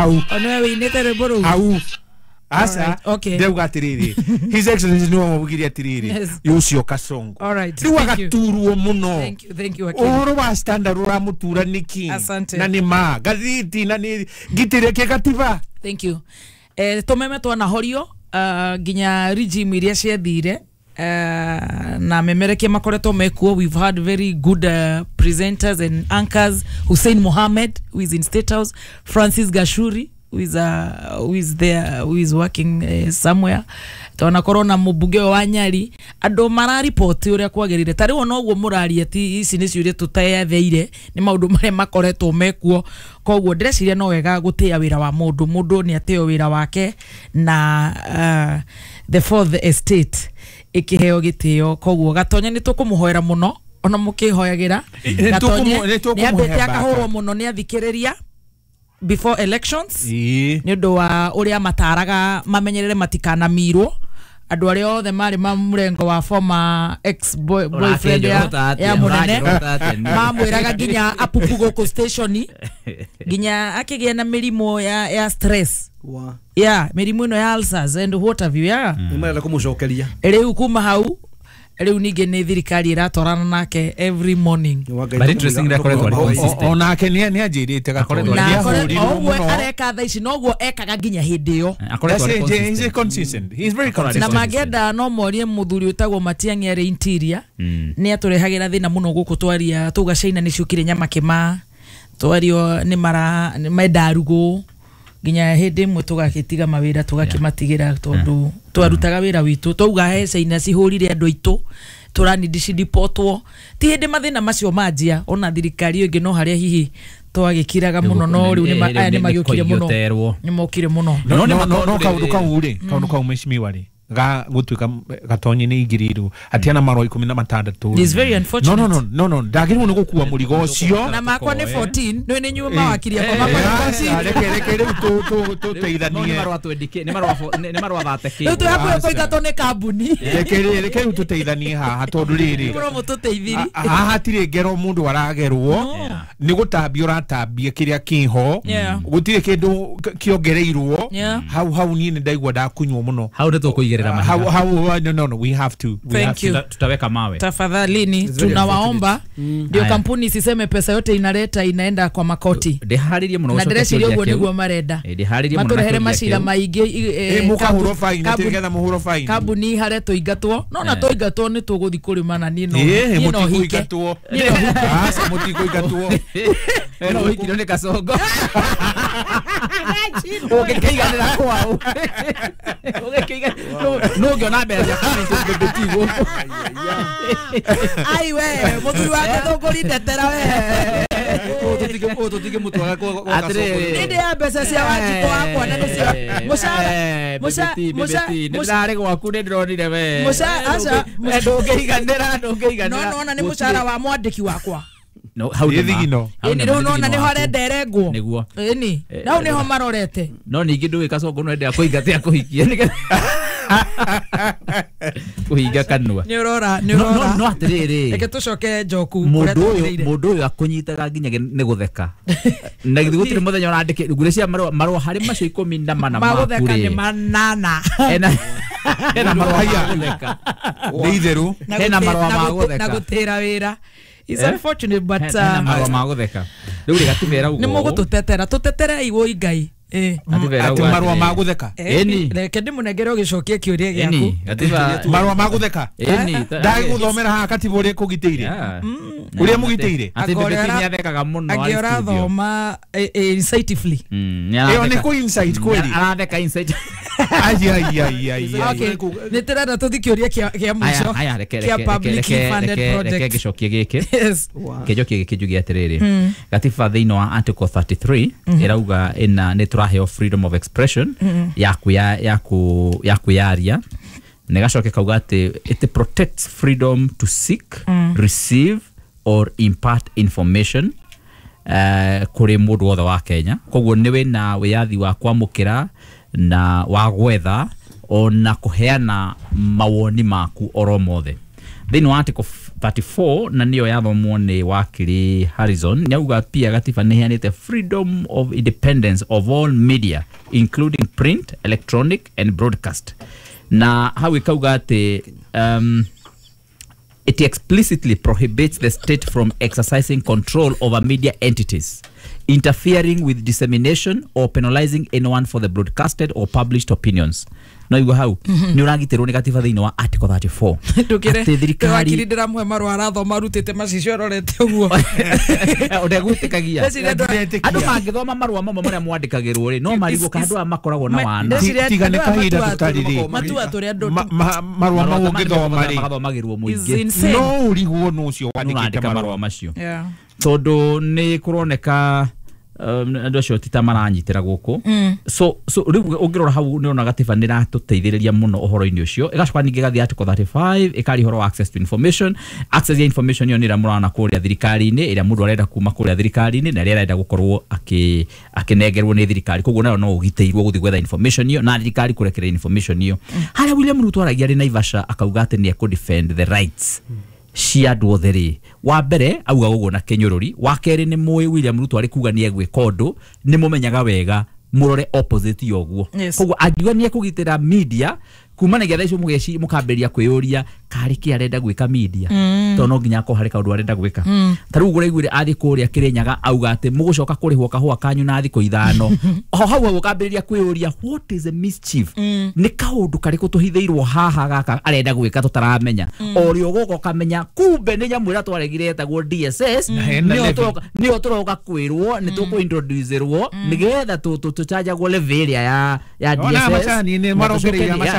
Hau. Onewe wĩinĩte rwĩmbo rũu. Hau. Aca. Okay. Ndauga atiriri, His Excellency niwe wamugire atiriri, Yes. ucio Kasongo All right. riu Thank you. agaturwo muno. Thank you, thank you, wakili. Uhoro wa Standard uramutura niki? Asante. Na ni ma gathiti na ni ngitire ke gatiba. Thank you. Tumeme twanahorio nginya regime iria ciathire na memerekia makoretwo mekuo. We've had very good presenters and anchors: Hussein Mohammed, who is in State House, Francis Gashuri, who is there, who is working somewhere. Twanakorwo na mũmbunge ũyũ wa Nyari, andũ mararipoti ũrĩa kwagĩrĩire. Ta rĩu ona ũguo mũraria, ti ici nĩ ciũria tũteyetheire, nĩ maũndũ marĩa makoretwo mekuo. Koguo ndĩreciria no wega gũtĩĩa wĩra wa mũndũ. Mũndũ nĩ atĩo wĩra wake na the fourth estate ĩkĩheo gĩtĩo. Koguo Gatonye nĩ tũkũmũhoera mũno, ona mũkĩhoyagĩra. Nĩ Gatonye nĩ tũkũmũhe nĩ ambĩte baka. akahũrwo mũno nĩ athikĩrĩria before elections Ĩĩ. nĩ ũndũ wa ũrĩa mataraga mamenyerere matikanamirwo andũ arĩa othe marĩ ma mũrengo wa former ex boyfriend ya mũnene. Mamwĩraga nginya apupu gũkũ station, nginya akĩgĩa na mĩrimũ ya stress, Wa. ya mĩrimũ ĩno ya ulcers and what have you, yeah. Nĩ marenda kũmũcokeria. Rĩu kuma hau, rĩu ningĩ nĩ thirikari ĩratwarana nake every morning. Nĩ wa Ngai. But interestingly, akoretwo arĩ consistent. Onake nĩ anjĩrĩte Gatonye Akoretwo na nĩ o ahũrirwo ũguo mũno. Areka thaa ici noguo ekaga nginya hĩndĩ ĩyo. Akoretwo arĩ That's it, he's consistent. consistent. He's very Na consistent. mangĩenda no morie mũthuri wĩtagwo Matiang'i arĩ interior. Nĩ atũrehagĩra thĩna mũno gũkũ. Twaria tuga China nĩ ciũkire nyamakĩma, twario nĩ mara nĩ menda rugũ, nginya hĩndĩ ĩmwe tũgagĩtiga mawĩra, tũgakĩmatigĩra, tondũ twarutaga wĩra witũ. Twauga he China cihũrire andũ aitũ, tũranindi cidipotwo. Ti hĩndĩ mathĩna macio manjia, ona thirikari ĩyo ĩngĩ no harĩa hihi twagĩkiraga mũno, no rĩu aya nĩ magĩũkire mũno. Nĩ Nĩ mokire mũno. No No, no nĩ no no makorwo kaundu rĩrĩ- kau rĩ, kaundu kau mheshimiwa rĩ, ga gutuika Gatonye nĩ ingĩrĩirwo atiana marũa 16. It's very No. unfortunate. No, no, no, no, ndagĩrĩirwo nĩ gũkua mũrigo ũcio. Na makwa nĩ 14, nĩ nĩ nyuma wakiri akwa, makwa nĩ 14. Reke reke rĩu tũteithanie. Nĩ marũa twendike, nĩ marũa nĩ marũa thateke. Rĩu twĩ hakuhĩ kũingatwo nĩ kambuni. Reke rĩu tũteithanie haha, tondũ rĩrĩ, Mũro mũtũteithirie. Haha hatirĩ ngero mũndũ aragerwo, nĩ gũtambia ũratambia kĩrĩa kĩho. Gũtirĩ kĩndũ kĩongereirwo. Hau hau niĩ nĩ ndaigua ndakunywo mũno. Hau nĩ tũkũigĩrĩra Hau mahiga. hau, no, no, no, we have to, we Thank have to. you. Tutaweka mawe. Tafadhalini, It's very tunawaomba ndio Aya. kampuni isiseme pesa yote inaleta inaenda kwa makoti. Ndĩharĩrie mũno Na gũcokia ndĩreciria kĩũria ũguo kĩu. nĩguo marenda. Ndĩharĩrie mũno na matũrehere kĩũria macira kĩu. maingĩ Mũkahũrwo faini, atĩ nĩgetha mũhũrwo faini. Kambuni harĩa tũingatwo, no na tũingatwo nĩ tũgũthiĩ kũrĩma na niĩ no niĩ no hike. Mũtikũingatwo. Niĩ no hike. Aca, mũtikũingatwo. No ũhikirio nĩ Kasongo, ũngĩkĩiganĩra kwao, nũ ũngĩona mbeca cia bĩbĩti gũkũ? Ai we mũthuri wa gĩthũngũri, ndetera we. Tũtige mũtwaga kwa Atĩrĩrĩ. Nĩ ndĩ ya mbeca cia Wanjikũ wakwa na nĩcio mũcara Nĩ ndarĩ gwaku, nĩ ndĩronire we. Aca, Ndũngĩiganĩra, ndũngĩiganĩra. No nona nĩ mũcara wa mwandĩki wakwa. No, hau nĩ Ĩ ma. thigino. Hau Ĩni nĩ ma, rĩu nĩ nona thigino nĩho waku. arenda erengwo. Nĩguo. Ĩni hau nĩho marorete. No ningĩ ndũĩ Kasongo no endaga kũingatia kũhikia nĩgetha kũhinga kanua. Nĩ ũrora, nĩ No, no, ũrora. no atĩrĩrĩ, Reke tũcoke njoku kũrĩa mũndũ ũyũ tũgĩrĩire. Mũndũ ũyũ akũnyitaga nginya nĩ gũtheka, na githĩ gũtirĩ mũthenya ũrandĩke ngwĩciria marũa harĩ macio 14 maku Magũtheka nĩ rĩ manana. Hena marũa ma Haya. gũtheka. Nĩ itherũ. Na Hena marũa ma gũtheka. na gũtĩra wĩra. It's Eh? unfortunate, but Hena marũa ma gũtheka. Rĩu rĩ, gatibera nĩ ũguo mũgũtũtetera, tũteterei wũi Ngai. Gatibera Atĩ ũguo marũa atĩrĩrĩ. ma gũtheka. Ĩni. Reke ndĩmũnengere ũgĩcokia kĩũria gĩaku. Ĩni, gatiba. Marũa ma gũtheka. Ĩni. Ndagĩgũthomera haha katiba ũrĩa kũgitĩire, ũrĩa mũgitĩire. Atĩ Angĩ ũrĩa Bebeti nĩ athekaga mũno angĩ arĩ studio. ũrathoma insightfully. Nĩ Ĩyo nĩ aratheka. kũ insight kweli. Aratheka insight. Ai ai ai ai ai. Okay, nĩ tũrenda tũthi kĩũria kĩa mũico Aya, aya, reke kĩa reke publicly reke funded reke reke project. ngĩcokie gĩkĩ. Yes. Kĩnjokie gĩkĩ njuge atĩrĩrĩ, gatiba thĩinĩ wa article 33 ĩrauga ĩna nĩ tũraheo freedom of expression ya kwĩyaria, na ĩgacoka ĩkauga atĩ it protects freedom to seek, receive or impart information kũrĩ mũndũ wothe wa Kenya. Koguo nĩ wĩna wĩyathi wa kwamũkĩra na wa gwetha ona kũheana mawoni maku oro mothe. Thĩinĩ wa article 34 na niyo yathomwo ni wakiri Harrison nĩauga pia gatiba nĩ ĩheanĩte freedom of independence of all media including print, electronic and broadcast. Na hau ikauga atĩ it explicitly prohibits the state from exercising control over media entities, interfering with dissemination or penalizing anyone for the broadcasted or published opinions. No igua hau nĩ ũragitĩrwo nĩ gatiba thĩinĩ wa article 34 atĩ thirikari ndĩramũhe marũa arathoma arutĩte macicio arorete ũguo ũndegwĩtĩkagia andũ mangĩthoma marũa mamwe marĩa mwandĩkagĩrwo rĩ no marigwo ka andũ aya makoragwo na wana tiga nĩ kahinda tũtarĩ rĩ marũa mau ũngĩthoma rĩ magathomagĩrwo mũingĩ no ũrigwo nũ ũcio wandĩkĩte marũa macio tondũ nĩ kũroneka andũ acio ti ta maranyitĩra gũkũ. So rĩu ũngĩrora hau nĩ ũrona gatiba nĩ ĩratũteithĩrĩria mũno ũhoro-inĩ ũcio. Ĩgacoka ningĩ ĩgathiĩ article 35 ĩkaria ũhoro wa access to information. Access ya information ĩyo nĩ ĩrĩa mũrona kũrĩa thirikari-inĩ, ĩrĩa mũndũ arenda kuma kũrĩa thirikari-inĩ na ĩrĩa arenda gũkorwo akĩnengerwo nĩ thirikari. Koguo nayo no ũgitĩirwo gũthiĩ gwetha information ĩyo na thirikari kũrekereria information ĩyo. Harĩa William Ruto aragia arĩ Naivasha akauga atĩ nĩ ekũ defend the rights cia andũ othe rĩ, wa mbere auga ũguo na kĩnyũrũri, wa kerĩ nĩ mũĩ William Ruto arĩ kuga nĩ egwĩka ũndũ nĩ mũmenyaga wega mũrore opposite ya ũguo. Koguo angiuga nĩ ekũgitĩra media kumanagia thaa icio mũgeci mũkambĩrĩria kwĩyũria karĩ kĩ arenda gwĩka media tondũ no nginya akorwo harĩ kaũndũ arenda gwĩka. Ta rĩu ũraiguire athiĩ kũrĩa Kĩrĩnyaga auga atĩ mũgũcoka kũrĩhwo kahũa kanyu na thikũ 5. Ho hau hau ũkambĩrĩria kwĩyũria what is a mischief, nĩ kaũndũ karĩkũ tũhithĩirwo haha gaka arenda gwĩka tũtaramenya. O rĩo ũgoka ũkamenya kumbe nĩ nyamũ ĩrĩa twaregire ĩtagwo DSS nĩyo tũroka kwĩrwo nĩ tũkũ-introduce-rwo nĩgetha tũchanjagwo levy ĩrĩa ya DSS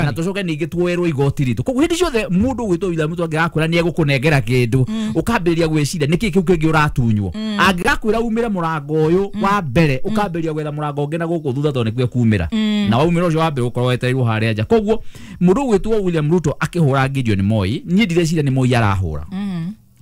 na tũcoke ningĩ tuoerwo igoti ritũ. Koguo hĩndĩ ciothe mũndũ ũgwĩtwo William Ruto angĩgakwĩra nĩ egũkũnengera kĩndũ ũkambĩrĩria gwĩciria nĩkĩ kĩu kĩngĩ ũratunywo. Angĩgakwĩra umĩre mũrango ũyũ wa mbere ũkambĩrĩria gwetha mũrango ũngĩ na gũkũ thutha tondũ nĩkuo kumĩra na waumĩra ũcio wa mbere ũkorwo wetereirwo harĩa nja. Koguo mũndũ ũgwĩtwo William Ruto akĩhũra Gideon Moi, niĩ ndireciria nĩ Moi arahũra.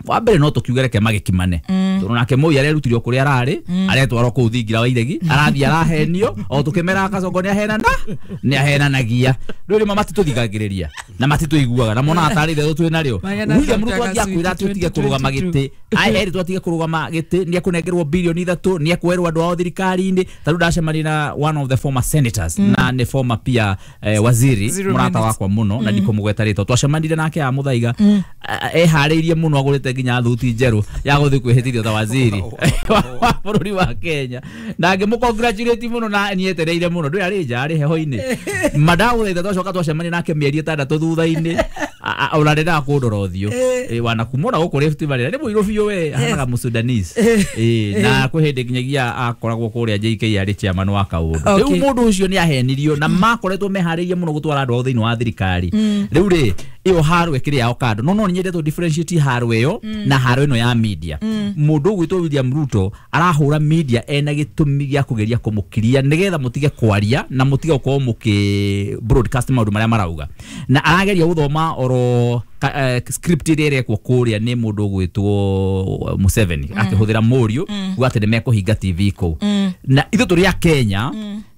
Wa mbere no tũkiuge reke magĩkimane tondũ nake Moi arerutirio kũrĩa ararĩ aretwarwo kũu thingira wa iregi arathiĩ arahenio o tũkĩmeraga Kasongo nĩ ahenanagia. Rĩu rĩmwe matitũthikagĩrĩria na matitũiguaga na monaga tarĩ itherũ twĩ narĩo. William Ruto angĩakwĩra atĩ ũtige kũrũgama gĩtĩ erĩ twatige kũrũgama gĩtĩ nĩ ekũnengerwo bilioni 3 nĩ ekwerwo andũ ao thirikari-inĩ. Ta rĩu ndacemania na one of the former senators na nĩ former pia waziri mũrata wakwa mũno na ndikũmũgweta rĩtwa, twacemanire nake a Mũthaiga eharĩirie mũno agũrĩte nginya thuti njerũ ya gũthiĩ kwĩhĩtithio ta waziri wa bũrũri wa Kenya na ngĩmũ-congratulate mũno na nĩetereire mũno ndũĩ arĩ nja arĩ heho-inĩ mandagũthaitha twacoka twacemania nake mĩeri 6 thutha-inĩ ona ndendaga kũndora ũthiũ wanakumona gũkũ Rift Valley nĩ mũirũ biũ we ahanaga Mũsudanese na kwĩ hĩndĩ nginyagia akoragwo kũrĩa JK arĩ chairman wa kaũndũ. Rĩu mũndũ ũcio nĩ ahenirio na makoretwo meharĩirie mũno gũtwara andũ ao thĩinĩ wa thirikari. Rĩu rĩ ĩyo haro ĩkĩrĩ yao kando no nyendete tũ differentiate haro ĩyo na haro ĩno ya media. Mũndũ ũgwĩtwo William Ruto arahũra media ena gĩtũmi gĩa kũgeria kũmũkiria nĩgetha mũtige kwaria na mũtige gũkorwo mũkĩ broadcast maũndũ marĩa marauga na arageria gũthoma oro script ĩrĩa ĩrekwo kũrĩa nĩ mũndũ ũgwĩtwo Museveni akĩhũthĩra mũriũ kuga atĩ nĩmekũhinga TV kũu. Na ithuĩ tũrĩ a Kenya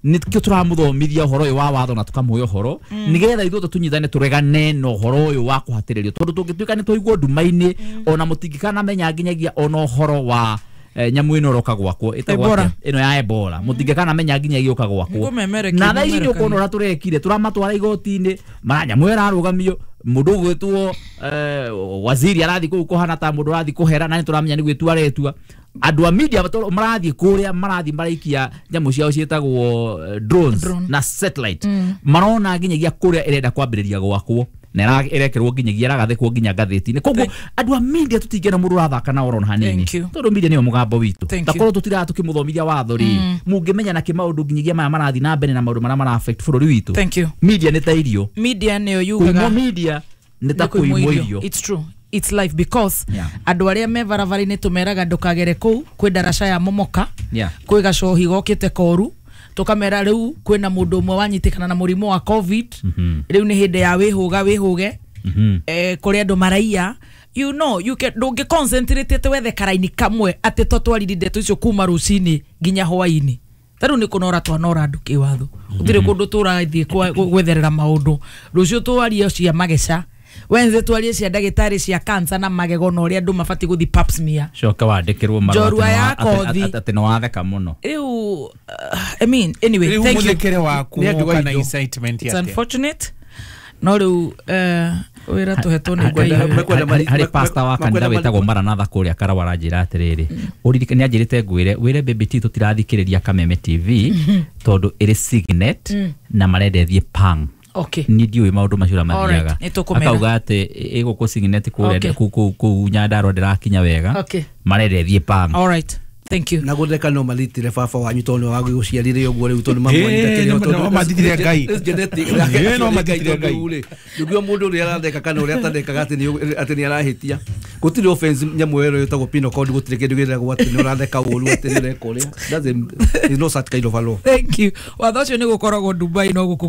nĩkĩo tũramũthomithia ũhoro ũyũ wa watho na tũkamũhe ũhoro nĩgetha ithuothe tũnyitane tũregane na ũhoro ũyũ wa kũhatĩrĩrio tondũ tũngĩtuĩka nĩ twaigwo nduma-inĩ ona mũtingĩkanamenya nginyagia ona ũhoro wa nyamũ ĩno ĩroka gwakwo ĩtagwo ĩno ya Ebola mũtingĩkanamenya nginyagia ĩũka gwakwo. Na thaa ici nĩ ũkuona ũrĩa tũrekire tũramatwara igoti-inĩ mara nyamũ ĩyo ĩrarũgamio mũndũ ũgwĩtwo waziri arathiĩ kũu kũhana ta mũndũ ũrathiĩ kũhera na nĩ tũramenya nĩ gwĩtua aretua. Andũ a media marathiĩ kũrĩa marathiĩ maraikia nyamũ ciao ciĩtagwo drones na satellite marona nginyagia kũrĩa ĩrenda kwambĩrĩria gwakwo na ĩrekerwo nginyagia ĩragathĩkwo nginya ngathĩti-inĩ. Koguo andũ a media tũtingĩona mũndũ ũrathaka na orona hanini tondũ media nĩyo mũgambo witũ. Takorwo tũtiraga tũkĩmũthomithia watho rĩ mũngĩmenya nakĩ maũndũ nginyagia maya marathiĩ na mbere na maũndũ marĩa mara affect bũrũri witũ. Media nĩ ta irio, media nĩyo yugaga kũimwo media nĩ ta kũimwo irio. It's true, it's life because andũ arĩa me barabara-inĩ tũmeraga ndũkagere kũu kwĩ ndaraca ya momoka kwĩ gacohi gokĩte koru tũkamera rĩu kwĩna mũndũ ũmwe wanyitĩkana na mũrimũ wa COVID rĩu nĩ hĩndĩ ya wĩhũga wĩhũge kũrĩ andũ maraiya you know you can ndũngĩ concentrate atĩ wethe karaini kamwe atĩ totwarire ndeto icio kuma rũcinĩ nginya hwainĩ. Ta rĩu nĩ kũnora twanora andũ kĩwatho gũtirĩ kũndũ tũrathiĩ gwetherera maũndũ rũciũ twarie cia mageca Wednesday twarie cia ndagĩtarĩ cia cancer na magego na ũrĩa andũ mabatiĩ gũthiĩ pap smear. Coka wandĩkĩrwo marũa Njorua ya kothi. atĩ nĩ watheka mũno. Rĩu I mean, anyway, Rĩu thank you. mũthekere waku Nĩ andũ woka na aitũ. incitement It's atĩa? unfortunate no rĩu wĩra tũhetwo nĩ Ngai. Mekwenda Harĩ pastor wa kanitha wĩtagwo Maranatha kũrĩa Karawa aranjĩra atĩrĩrĩ, ũririkane nĩ anjĩrĩte ngwĩre wĩre Baby T tũtirathikĩrĩria Kameme TV tondũ ĩrĩ signet na marenda ĩthiĩ pang. Okay. Niĩ ndiũĩ maũndũ macio ũrĩa mathiaga. Alright, nĩtũkũmera. Akauga atĩ ĩgũkũ signet kũrĩa Okay. kũu Nyandarua ndĩrakinya wega. Okay. Marenda ĩthiĩ pang. All right. Thank you. Na gutheka no maritire baba wanyu tondu wa guciarire uguo riu tondu Ĩĩ, no mathitire Ngai. Ĩĩ, no mathitire Ngai. Niguo mundu uria aratheka kana uria atathekaga ati ni arahitia. Gutiri offense nyamu ĩyo ĩtagwo penal code, gutiri kindu gĩtagwo ati ni uratheka ũru ati ni ureka ũrĩa. There's no such kind of a law. Thank you. Watho ũcio nĩ gũkoragwo Dubai no gũkũ.